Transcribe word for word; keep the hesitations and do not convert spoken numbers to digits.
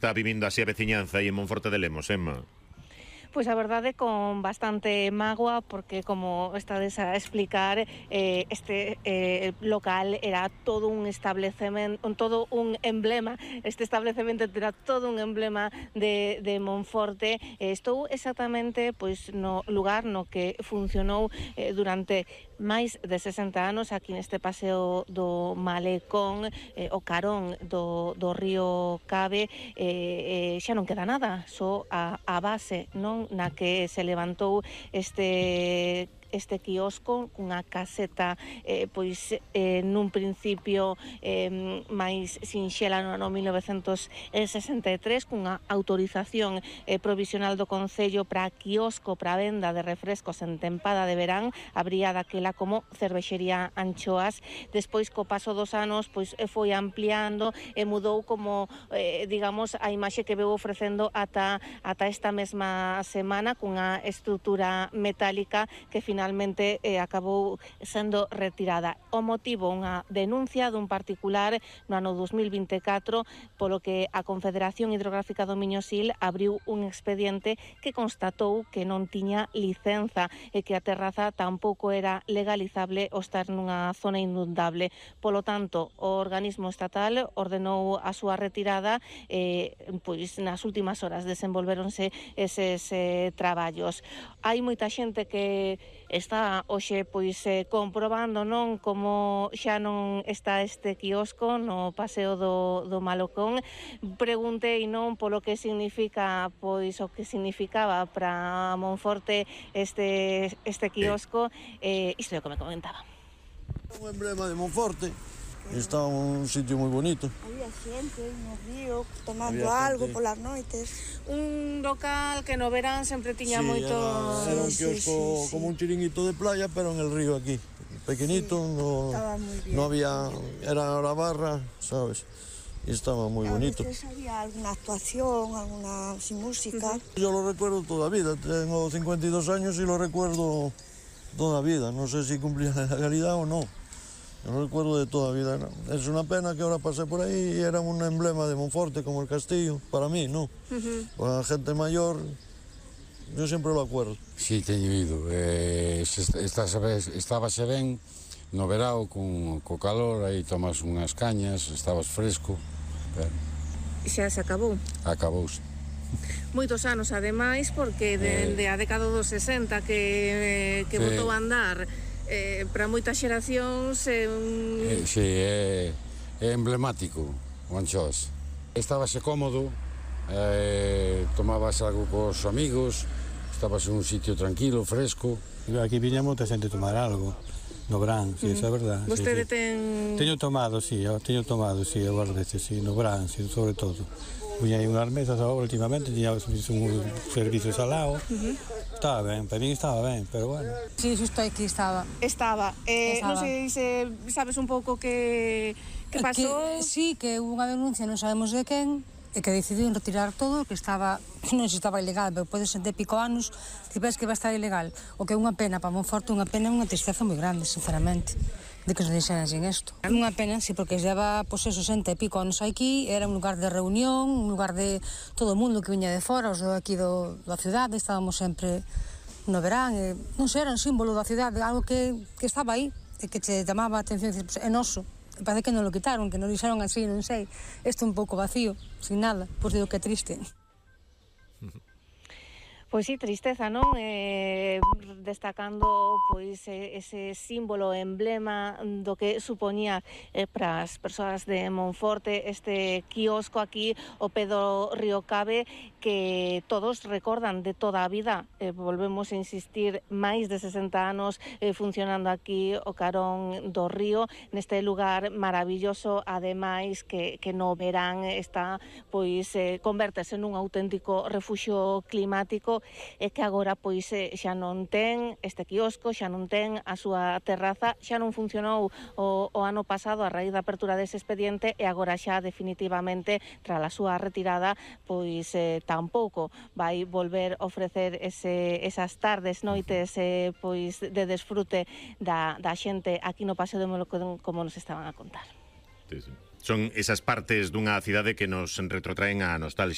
Está vivindo así a veciñanza aí en Monforte de Lemos, Emma? Pois a verdade con bastante mágoa, porque como estades a explicar, eh, este eh, local era todo un establecemento, todo un emblema, este establecemento era todo un emblema de, de Monforte. Eh, estou exactamente pois no lugar no que funcionou eh, durante máis de sesenta anos aquí neste paseo do Malecón, eh, o carón do, do río Cabe. eh, eh, xa non queda nada, só a, a base, non, na que se levantou este este quiosco cunha caseta eh, pois eh, nun principio eh, máis sinxela no ano mil novecentos sesenta e tres, cunha autorización eh, provisional do Concello para quiosco para venda de refrescos en tempada de verán, abría daquela como cervexería Anchoas. Despois, co paso dos anos, pois foi ampliando e mudou como eh, digamos, a imaxe que veu ofrecendo ata, ata esta mesma semana, cunha estrutura metálica que finalmente finalmente eh, acabou sendo retirada. O motivo, unha denuncia dun particular no ano dos mil vinte e catro, polo que a Confederación Hidrográfica do Miñosil abriu un expediente que constatou que non tiña licenza e que a terraza tampouco era legalizable ao estar nunha zona inundable. Polo tanto, o organismo estatal ordenou a súa retirada e eh, pois nas últimas horas desenvolveronse eses eh, traballos. Hai moita xente que está hoxe pois eh, comprobando, non, como xa non está este quiosco no paseo do, do Malocón. Preguntei, non, polo que significa, pois o que significaba para Monforte este este quiosco, eh, isto é o que me comentaba. Un emblema de Monforte. Está un sitio moi bonito. Había xente no río tomando Había algo gente. Polas noites. Un local que no verán sempre tiña sí, moito... Era, era un sí, kiosco sí, sí, como un chiringuito de playa, pero en el río aquí. Pequeñito, sí, no, no había... Era la barra, ¿sabes? Y estaba muy a bonito. A veces había alguna actuación, alguna sin música. Uh-huh. Yo lo recuerdo toda la vida. Tengo cincuenta y dos años y lo recuerdo toda la vida. No sé si cumplía la legalidad o no. Yo lo recuerdo de toda la vida. ¿No? Es una pena que ahora pasé por ahí y era un emblema de Monforte como el castillo. Para mí, ¿no? Uh-huh. Para la gente mayor, yo siempre lo acuerdo. Sí, teño ido. Eh, estábase ben no verao con co calor, aí tomas unhas cañas, estabas fresco. Pero... Xa se acabou? Acabouse. Moitos anos, ademais, porque dende eh... a década dos sesenta que, que sí. botou a andar... Eh, para moitas xeracións é un... Eh, sí, é, é emblemático o Anchoas. Estábase cómodo, eh, tomabas algo cos amigos, estabas en un sitio tranquilo, fresco. Aquí viña moita xente tomar algo no verán, si, sí, uh-huh. Esa é verdade. Vostede sí, sí. ten... Teño tomado, si, sí, teño tomado, si, sí, agora veces, si, sí, no verán, si, sí, sobre todo. Viña aí unhas mesas agora últimamente, tiña un servicio salado. Uh-huh. Estaba ben, para mí estaba ben, pero bueno. Sí, xusto aquí estaba. Estaba. Eh, estaba. Non sei se sabes un pouco que, que pasou. Que, sí, que hubo unha denuncia, non sabemos de quen, e que decidiron retirar todo, que estaba, non sei se estaba ilegal, pero pode ser de pico anos, que ves que vai estar ilegal. O que é unha pena para Monforte, unha pena e unha tristeza moi grande, sinceramente, de que se deixaran sin isto. Unha pena, sí, porque lleva, pois, eso, sesenta e pico anos aquí, era un lugar de reunión, un lugar de todo o mundo que viña de fora, os de aquí do, da cidade, estábamos sempre no verán, e, non sei, era un símbolo da cidade, algo que, que estaba aí, e que che chamaba a atención, e, é noso. Parece que non lo quitaron, que non dixeron así, non sei. Isto un pouco vacío, sin nada. Pois digo que é triste. Pois sí, tristeza, non? Eh, destacando pois ese símbolo, emblema do que supoñía eh, para as persoas de Monforte este quiosco aquí o pé do río Cabe, que todos recordan de toda a vida. Eh, volvemos a insistir, máis de sesenta anos eh, funcionando aquí o carón do río, neste lugar maravilloso, ademais que, que no verán está, pois, eh, converterse nun auténtico refuxio climático, e que agora pois xa non ten este quiosco, xa non ten a súa terraza, xa non funcionou o, o ano pasado a raíz da apertura dese expediente e agora xa definitivamente tras a súa retirada pois eh, tampouco vai volver a ofrecer ese, esas tardes, noites eh, pois de desfrute da, da xente aquí no Paseo de Molocón, como nos estaban a contar. Sí, sí. Son esas partes dunha cidade que nos retrotraen a nostalgia.